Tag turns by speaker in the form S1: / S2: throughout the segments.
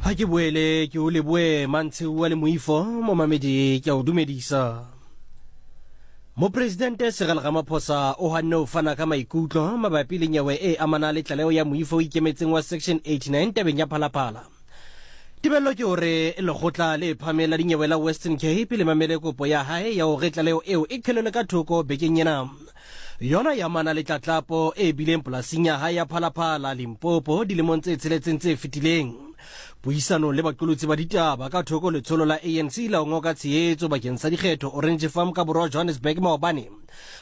S1: Ha ke boele ke o leboe Mantsheuwa le Moifo, momamedi ke a o dumedisa. Mopresidente Cyril Ramaphosa o hanne ho fana ka maikutlo mabapi le nyewe e amanang le tlaleho ya moifo o ikemetseng wa Section 89 tabeng ya Phalaphala. Tebello ke hore lekgotla le phahameng la dinyewe la Western Cape le mamele kopo ya hae ya hore tlaleho eo e qhelelwe ka thoko bekeng ena. Yona e amana le tlatlapo e bileng polasing ya hae ya Phalaphala, Limpopo dilemong tse tsheletseng tse fetileng. Puisanong le baqolotsi ba ditaba ka thoko letsholo la ANC la ho ngoka tshehetso bakeng sa dikgetho Orange Farm ka borwa Johannesburg maobane,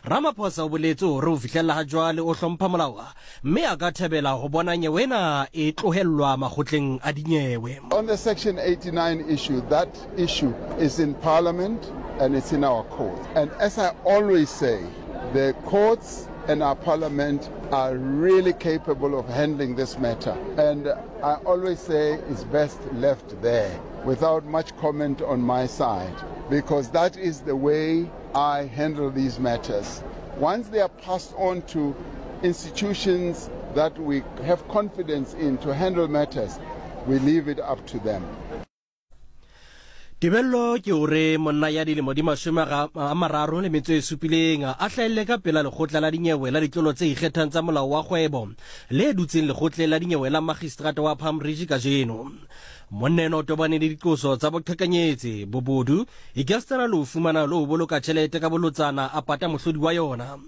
S1: Ramaphosa o boletse hore ho fihlella ha jwale o hlompha molao mme a ka thabela ho bona nyewe ena e tlohellwa makgotleng a dinyewe.
S2: On the Section 89 issue, that issue is in Parliament and it's in our courts. And as I always say, the courts and our parliament are really capable of handling this matter. And I always say it's best left there without much comment on my side, because that is the way I handle these matters. Once they are passed on to institutions that we have confidence in to handle matters, we leave it up to them.
S1: Tebello ke hore monna ya dilemo di mashome a mararo le metso e supileng a hlahelle ka pela lekgotla la dinyewe la ditlolo tse ikgethang tsa molao wa kgwebo le dutseng lekgotleng la dinyewe la magistrata wa Palm Ridge kajeno. Monna enwa o tobane le diqoso tsa boqhekanyetsi, bobodu, ekasitana le ho fumana le ho boloka tjhelete ka bolotsana a pata mohlodi wa yona.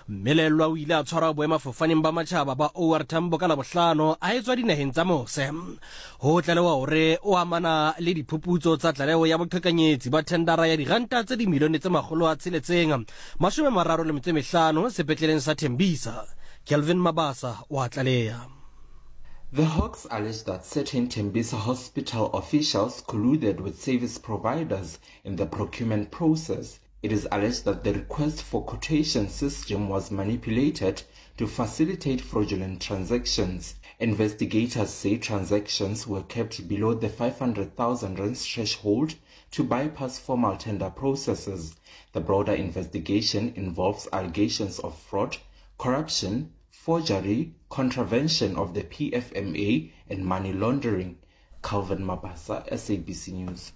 S1: Mmelellwa o ile a tshwarwa boemafofaneng ba matjhaba ba OR Tambo ka Labohlano a etswa dinaheng tsa mose. Ho tlalewa hore o amana le diphuputso tsa tlaleho ya boqhekanyetsi ba thendara ya diranta tse dimilione tse 635 sepetleleng sa Tembisa. Kelvin Mabasa o a tlaleha.
S3: The Hawks allege that certain Tembisa Hospital officials colluded with service providers in the procurement process. It is alleged that the request for quotation system was manipulated to facilitate fraudulent transactions. Investigators say transactions were kept below the 500,000 rand threshold to bypass formal tender processes. The broader investigation involves allegations of fraud, corruption, forgery, contravention of the PFMA and money laundering. Calvin Mabasa, SABC News.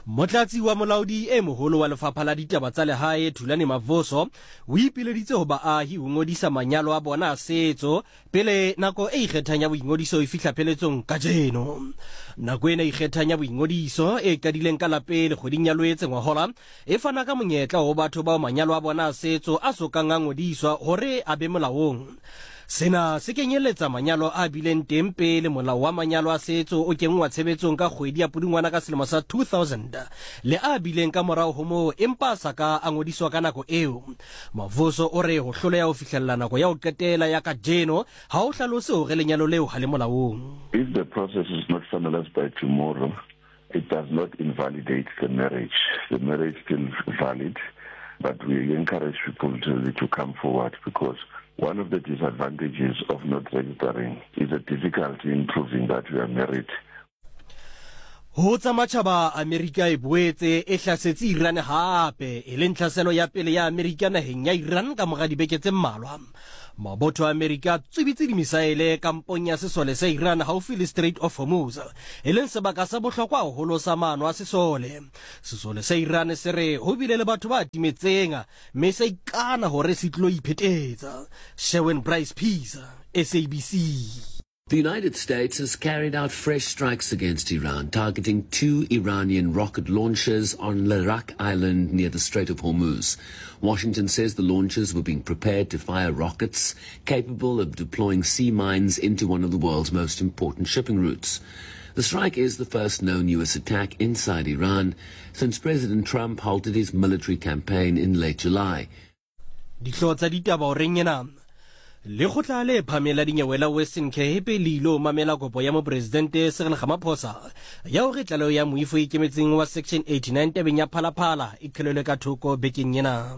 S1: Motlatsi wa molaodi e moholo wa lefapha la ditaba tsa lehae Thulani Mavoso o ipileditse ho baahi ho ngodisa manyalo a bona a setso pele nako e ikgethang ya boingodiso e fihla pheletsong kajeno. Nako ena e ikgethang ya boingodiso e qadileng ka la pele kgweding ya Loetse ngwahola e fana ka monyetla ho batho bao manyalo a bona a setso a so kang a ngodiswa hore a be molaong. Sena se kenyeletsa manyalo a bileng teng pele molao wa manyalo a setso o kenngwa tshebetsong ka kgwedi ya Pudungwana ka selemo sa 2000 le a bileng ka morao ho moo empa a sa ka a ngodiswa ka nako eo. Mavuso o re ho hloleha ho fihlella nako ya ho qetela ya kajeno ha ho hlalose hore lenyalo leo ha le molaong.
S4: If the process is not finalized by tomorrow, it does not invalidate the marriage. The marriage still valid, but we encourage people to, to come forward because one of the disadvantages of not registering is the difficulty in proving that you are married.
S1: Ho tsa matjhaba, Amerika e boetse e hlasetse Iran hape, e leng tlhaselo ya pele ya Amerika naheng ya Iran ka mora dibeke tse mmalwa. Mabotho a Amerika a tswibitse dimisaele kampong ya sesole sa Iran haufi le Strait of Hormuz, e leng sebaka sa bohlokwa haholo sa maano a sesole. Sesole sa Iran se re ho bile le batho ba timetseng mme sa ikana hore se tlilo iphetetsa. Sherwin Bryce Pease, SABC.
S5: The United States has carried out fresh strikes against Iran, targeting two Iranian rocket launchers on Larak Island near the Strait of Hormuz. Washington says the launchers were being prepared to fire rockets capable of deploying sea mines into one of the world's most important shipping routes. The strike is the first known U.S. attack inside Iran since President Trump halted his military campaign in late July.
S1: Dihlooho tsa ditaba horeng ena. Lekgotla le phahameng la dinyewe la Western Cape le ilo mamela kopo ya Mopresidente Cyril Ramaphosa ya hore tlaleho ya moifo e ikemetseng wa Section 89 tabeng ya Phalaphala e qhelelwe ka thoko bekeng ena.